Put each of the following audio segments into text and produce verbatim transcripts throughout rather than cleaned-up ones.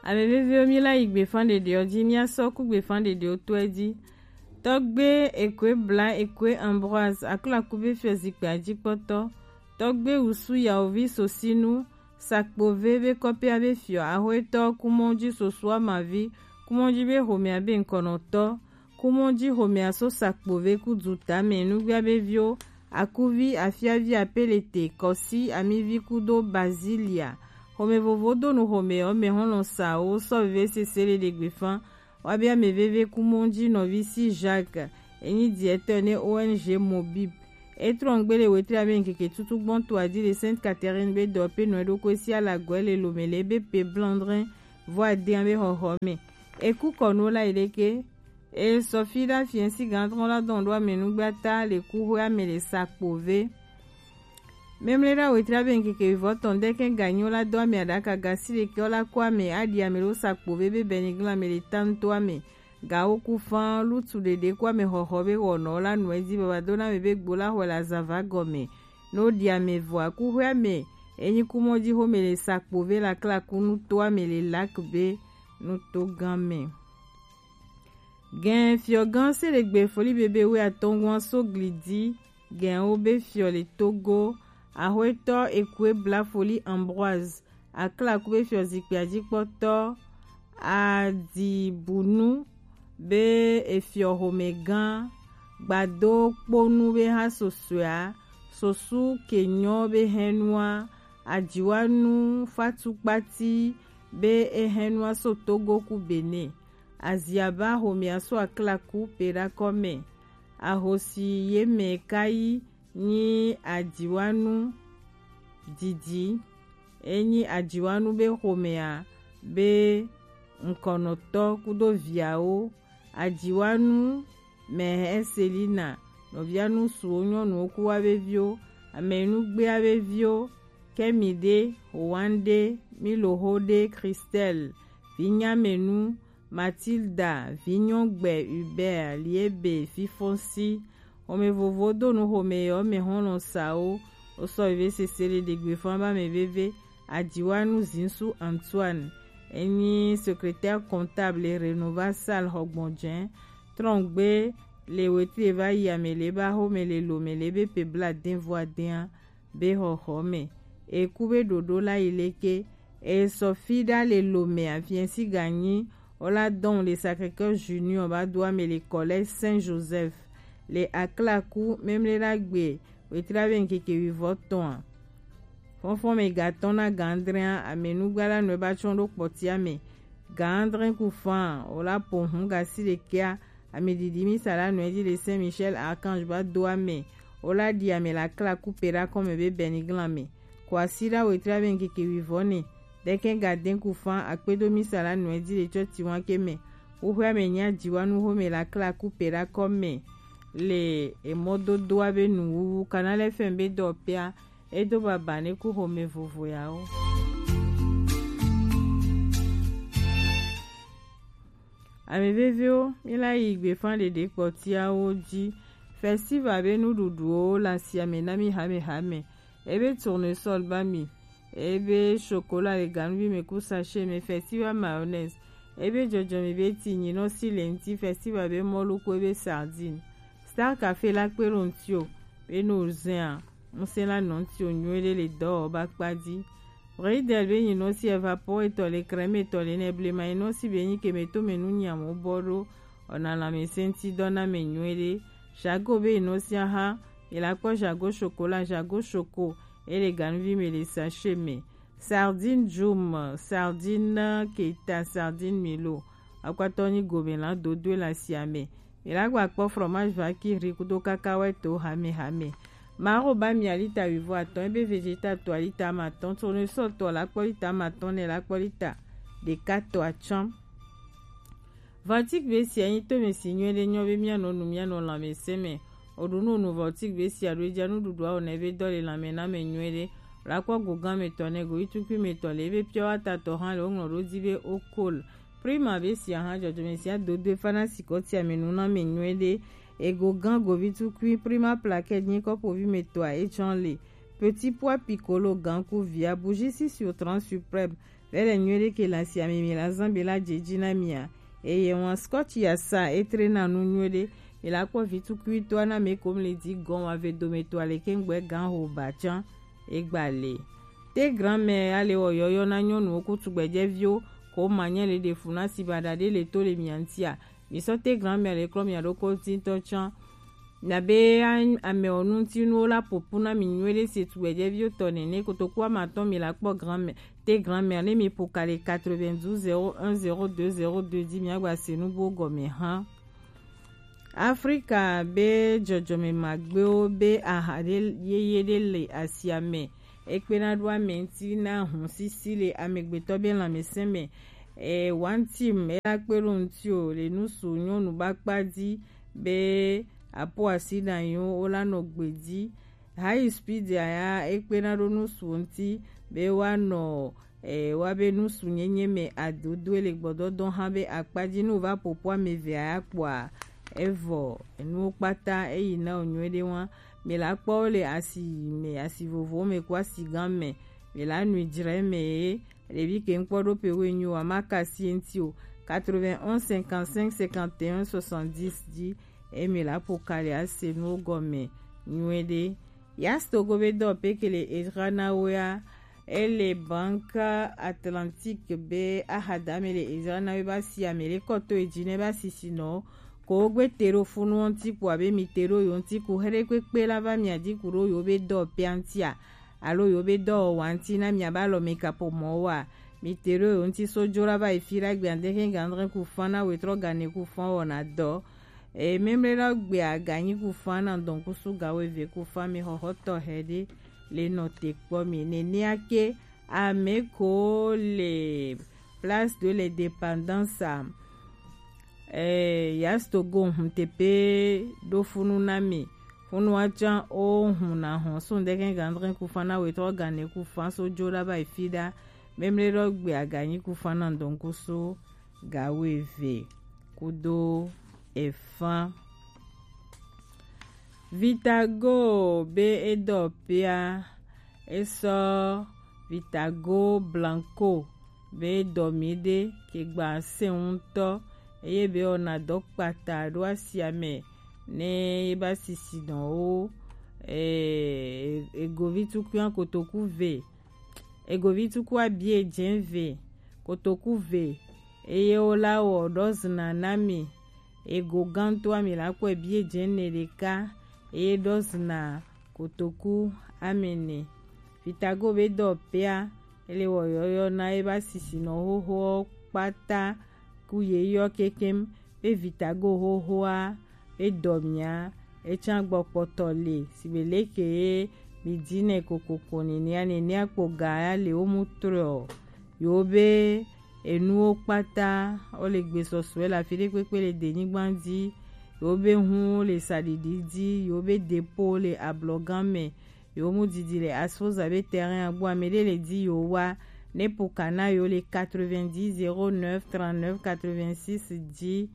Ame veviwo, mi la yi gbefan ɖeɖewo ji, mi asɔ ku gbefan ɖeɖewo tɔe ji. Tɔgbe Ekwe Bla Ekwe Ambroise, Aklaku be fiɔ zikpui ajikpɔtɔ. Tɔgbe Wusu Yawovi Sosinu, Sakpove be kɔpia be fiɔ, Ahoetɔ Kumɔji Sosu Amavi, Kumɔji be homea be ŋkɔnɔtɔ, Kumɔji homea so Sakpove ku du tame, nugbia be viwo, Akuvi, Afiavi, Apelete, Kɔsi, Amivi kudo Bazilia. Home vovo do nu home ɔ me hɔlɔ sa wo sɔ veve sese le ɖe gbefan. Wa bia me veve Kumɔji nɔvi si Jacques, enyi directeur ne O N G Mobib. E trɔn gbe le wetri abe ŋkeke tutu gbɔn to adi le Sainte Catherine be dɔ pe nɔ ɖo ko si ala gɔe le lome le be pe blandrin vɔ adean be hɔhɔ me. E ku kɔ nu la yi ɖe ke. E sɔ fi ɖa fiɛ si gan trɔn la dɔn ɖo ame nugba ta le ku hwe ame le Sakpove. Memle ɖa wetri abe ŋkeke vivɔ tɔn ɖe ke ganyi wo la do ame aɖaka gasi ɖe ke wo la ko ame aɖi ame ɖo Sakpove be bɛniglan ame le tanto ame. Gawo ku fan lutu ɖeɖe ku ame hɔhɔ be wɔnɔ la nu edi baba do na me be gbo la hwe la zava gɔme. No ɖi ame vɔ aku hwe ame. Enyi Kumɔji home le Sakpove la kla ku nuto ame le lak be nuto gan me. Gɛn fiɔgan se le gbe foli bebe we atɔngua so glidi. Gɛn wo be fiɔ le Togo. Ahoetɔ Ekue Bla Foli Ambroise, Aklaku be fiɔ zikpui ajikpɔtɔ, Adibunu be efiɔ homegã, Gbado Kponu be ha sosoea, Sosu Kenyɔ be hɛnua, Ajiwanu Fatu Kpati be ehɛnua so Togo ku Benin, Aziaba homea so Aklaku pe ɖa kɔ mɛ, ahosi ye mɛ kayi nyi Ajiwanu Didi. Enyi Ajiwanu be xomea be ŋkɔnɔtɔ kudo viawo, Ajiwanu Mɛhɛ Selina, nɔvia nusuwo nyɔnuwo ku wa be viwo, Amɛnugbea be viwo, Kɛmiɖe, Howande, Milohode, Christelle, Vinyamenu, Matilda, Vinyɔgbe, Hubert, Liebe, Fifonsi. Home vovo do nu home yɔ me hɔn lɔ sa wo. Wo sɔ veve sese le ɖegbe fɔn ba me veve. Ajiwanu Zinsu Antoine, enyi secrétaire comptable Renova Salle Hɔgbɔnjɛ. Trɔngbe le wetri va yi ame le ba home le lo me le be pe bla den vɔ aden a. Be xɔxɔ me. Eku be ɖoɖo la yi leke. E sɔ fi ɖa le lo me afiɛn si ganyi. Wo la dɔn le Sacré-Cœur Junior ba do ame le collège Saint Joseph le Aklaku memle la gbe wetra be ŋkeke wivɔ tɔn a. Fɔnfɔn me gatɔn na gandrɛn a, ame nugba la nɔ ba tsɔn ɖo kpɔtia me. Gandrɛn ku fan, wo la po hun gasi ɖekea, Ame ɖiɖi misa la nɔe ji le Saint Michel Archange ba do ame. Wo la ɖi ame la kla kupe ɖa kɔme be bɛniglan me. Ko asi ɖa wetra be ŋkeke wivɔ ne. Ɖeke ga den ku fan akpedo misa la nɔe ji le tsɔti wan ke me. Woxwe ame nya jiwa nu home la kla kupe ɖa kɔme. Le emɔdodoa be nuwuwu kana le fɛn be dɔ pea. Edo baba ne ku home vovo yawo. Ame veviwo, mi la yi gbefan ɖeɖe kpɔtiawo ji. Festival be nuɖuɖuwo le asiame na mi hamehame. Ebe tournesol ba mi. Ebe chocolat le ganuvi me ku sachet me, festival mayonnaise. Ebe jɔjɔmi be ti nyinɔ si le ŋti, festival be mɔlu ku ebe sardine. Star Café la kpe ɖo ŋti o, be no zɛn a. Ŋsɛn la nɔ ŋti o nyuie ɖe le dɔwɔba kpa ji. Bridel be nyinɔ si evapor etɔ le crème etɔ le nɛ blema nyinɔ si be nyi ke me to me nu nyiamu bɔ ɖo. Ɔna lãmesẽ ŋti dɔ na me nyuie ɖe. Jago be nyinɔ si aha, mi la kpɔ jago chocolat, jago choco, ele ganuvi me le sachet me. Sardine Jum, sardine Keta, sardine Milo. Akpatɔ nyi gome la dodoe le asiame. Mi la gba kpɔ fromage vaquerie kudo kakawɛ to hamehame. Maro ba mi alita wivɔ atɔn, ebe vegeta to alita amatɔn, tournesol to la kpɔ lita amatɔn ne la kpɔ lita ɖeka to atsɔn. Vatik be sia nyi to me si nyuie ɖe nyɔ be mianɔ nu mianɔ lãmesẽ me. Oɖu nu nu vatik be sia ɖo edza nuɖuɖua o ne be dɔ le lãme na me nyuie ɖe. La kpɔ go gã me tɔ ne go itukui me tɔ le ebe piɔ ata tɔ hã le woŋlɔ ɖo dzi be okol. Prima be sia hã dzɔdzɔme sia dodoe fana sikɔ tia me nu na me nyuie ɖe. Ego gã govi tukui prima plaquette nyi kɔpovi me tɔa etsɔn le. Petit pois piccolo gã ku via bougie si sur trente suprême. Bele nyuie ɖe ke le asi ame mi la zan be la dze dzi na mia. Eye wan Scott ya sa etre na nu nyuie ɖe. Mi la kpɔ vi tukui to na me kom le di gɔn wa ve dome to ale ke ngbe gan ho ba tsan. Egba le. Te grand-mère ale wɔ yɔyɔ na nyɔnuwo ku tugbɛjɛviwo ko ma nye le ɖe fu na si ba ɖa ɖe le to le mia ŋtia. Mi sɔ te grand-mère le klɔ mia ɖo ko tintɔ tsan. Nabe a-, ame ɔ ŋutinuwo la ƒoƒu na mi nyuie ɖe se tugbɛjɛviwo tɔ nene. Kotoku ame atɔ̃ mi la kpɔ grand-mère, te grand-mère ne mi ƒo ka le quatre-vingt-douze zéro un zéro deux zéro deux dzi miagba se nu buwo gɔme hã. Afrika be dzɔdzɔme magbewo be aha ɖe yeye ɖe le asia me. Ekpena ɖo ame ŋuti na hun sisi le amegbetɔ be lãmesẽ me. E, one team ela kpe ɖo ŋuti o le nusu nyɔnu ba kpa dzi be apo asi na yo wo la nɔ gbe dzi. High speed ya ekpena ɖo nusu ŋuti be wa nɔ, e, wa be nusu nyenye me adodo le gbɔdɔdɔ hã be akpa dzi nu va ƒoƒu ame eve ya kpɔa evɔ enuwo kpata eyi na o nyuie ɖe wa. Mi la kpɔ wo le asi me, asi vovowo me ku asi gã me. Mi la nui dzre me ye. Ɖevi ke ŋkpɔ ɖo pe wo nyo wa ma kasi ŋuti o. Quatre-vingt-onze cinquante-cinq cinquante et un soixante-dix dzi. E mi la ƒo ka le ase nuwo gɔme nyuie ɖe. Yas Togo be dɔ pe ke le ezra na wo ya. Ele Banque Atlantique be ahada me le ezra na wo ba si ame le kɔto edzi ne ba sisi nɔ. Ko wo gbe te ɖo funu wo ŋuti kpo abe mi te ɖo yo ŋuti ku heɖe kpekpe la va mia dzi ku ɖo yo be dɔ pea ŋutia. Alo yo be dɔwɔwɔa ŋuti na miabe alɔmekaƒomɔwo a? Mi te ɖo yo ŋuti so dzo la va yi fi la gbe ade xe ga adre ku fa na wetrɔ ga ne ku fa wɔna dɔ. E, memle la gbe aga nyi ku fa na dɔn ku su ga wo eve ku fa mi xɔxɔ tɔ xe ɖe le nɔ te kpɔ mi. Nenea ke ame ko le Place de l'Indépendance a. Eh, Yas Togo hun tepe ɖo funu na mi. Funu wa tsan o hun na hɔn sun ɖe kɛn gandrɛn ku fan na wetɔ gane ku fan so jo ɖa ba yi fi ɖa. Memle ɖɔ gbe aganyi ku fan na dɔn ku so ga wo eve kudo efan. Vitago be e dɔ pea, e sɔ Vitago Blanco be dɔ mi ɖe ke gba se ŋutɔ, eye be wɔna dɔ kpata ɖo asia me ne ye ba sisi nɔ wo, eh, egovi tukua kotoku ve, egovi tukua bie dze ve, kotoku ve, eye wo la wɔ ɖɔ zina na mi. Ego gãtɔ ami la kɔe bie dze ne ɖeka, eye ɖɔ zina kotoku amene. Vitago be dɔ pea, ele wɔ yɔyɔ na eba sisi nɔ xoxo kpata ku ye yɔ kekem be Vitago xoxoa be dɔ mia, etsa gbɔ kpɔtɔ le, sibe leke ye mi dzi ne kokoko nenea, nenea kpo ga ya le wo mu trɔ. Yo be enuwo kpata, wo le gbe sɔsɔe le afi ɖe kpekpe le denyigba dzi. Yo be hun le saɖiɖi dzi, yo be depo le ablɔgã me, yo mu didi le asfoza be terrain agbo ame ɖe le di yo wa, ne poka na yo le quatre-vingt-dix zéro neuf trente-neuf quatre-vingt-six dzi,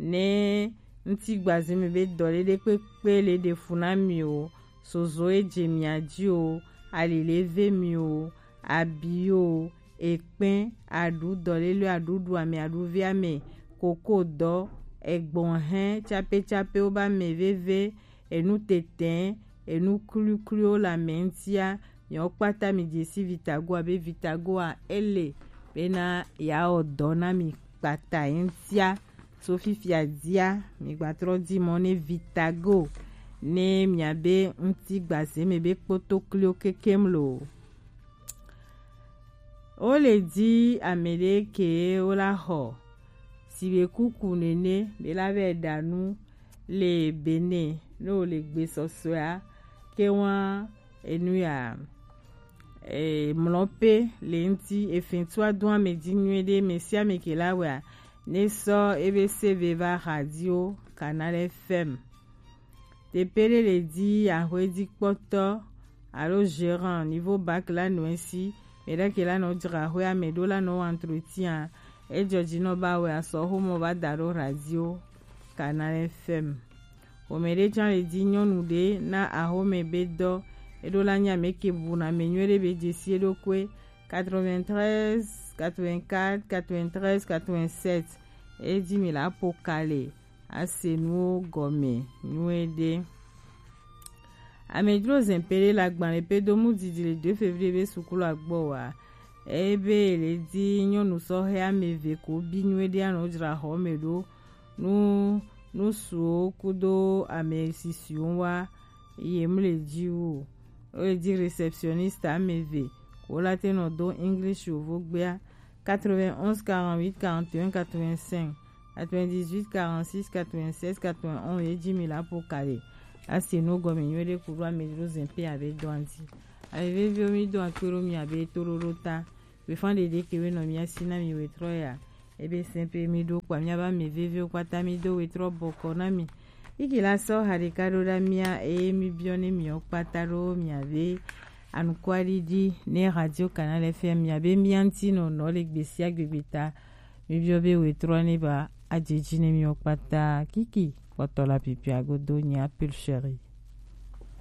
ne ŋuti gbaze me be dɔ ɖe ɖe kpekpe le ɖe fu na mi o, sozo e dze mia dzi o, ali le ve mi o, abi o, ekpɛn, aɖu dɔlele, aɖu ɖu ame, aɖu ve ame, koko dɔ, egbɔn hɛn, tsape tsape wo ba ame veve, enu tɛtɛ, enu kluikluiwo le ame ŋutia, miawo kpata mi dze si Vitagoa be Vitagoa ele bena yeawɔ dɔ na mi kpata ye ŋutia. Tso fifia dzia, mi gba trɔ di mɔ ne Vitago ne miabe ŋuti gbaze me be kpotokliwo kekem lo. Wo le di ame ɖe ke wo la xɔ sibe kuku nene be la vɛ ɖa nu le Benin ne wo le gbe sɔsɔea ke wa enu ya, e, mlɔ pe le ŋuti efin tu adu ame di nyuie ɖe me sia me ke la wɛa ne sɔ ebe seve va radio Canal F M. Teƒe ɖe le di axwedzikpɔtɔ alo gérant niveau bac la nɔ esi, mɛ ɖe ke la nɔ dzra axwea me ɖo la nɔ wɔ entretien, edzɔ dzi nɔ ba wɛ asɔ xomɔ va da ɖo radio Canal F M. Xɔmɛ ɖe tsã le di nyɔnu ɖe na axɔmɛ be dɔ, eɖo la nya mɛ ke bu na mɛ nyuie ɖe be dzesi eɖokui quatre-vingt-treize, quatre-vingt-quatre, quatre-vingt-treize, quatre-vingt-sept. E ji mi la po kale. Ase nuwo gɔme nyuie ɖe. Amedzro zɛn pe ɖe le agbalẽ pe do mu didi le deux février be sukulu agbɔ wa. Eye be le di nyɔnu sɔhɛ ame eve ko bi nyuie ɖe anɔ dzra xɔ me ɖo nu nusuwo kudo ame sisiwo wa ye mu le ji wu. Wo le di réceptionniste ame eve ko la te nɔ do English yovo gbea. Quatre-vingt-onze, quarante-huit, quarante et un, quatre-vingt-cinq, quatre-vingt-dix-huit, quarante-six, quatre-vingt-seize, quatre-vingt-onze, ye ji mi la po kale. Ase nuwo gɔme nyuie ɖe kudo amedzro zɛn pe abe dɔn di. Ame veviwo mi do akpe ɖo mi abe toɖoɖo ta. Wefan ɖeɖe ke we nɔ mi asi na mi wetrɔ ya. Ebe sɛn pe mi ɖo kpa mi aba ame veviwo kpata mi do wetrɔ bɔkɔ na mi. Iki la sɔ ha ɖeka ɖo ɖa mia eye mi biɔ ne mi kpata ɖo mi abe anukwaɖiɖi ne Radio Canal F M mi abe mia ŋuti nɔ nɔ le gbesi agbegbe ta. Mi biɔ be wetrɔ ne ba adze ji ne mi kpata kiki kpɔtɔ la pipia godo nye appel chéri.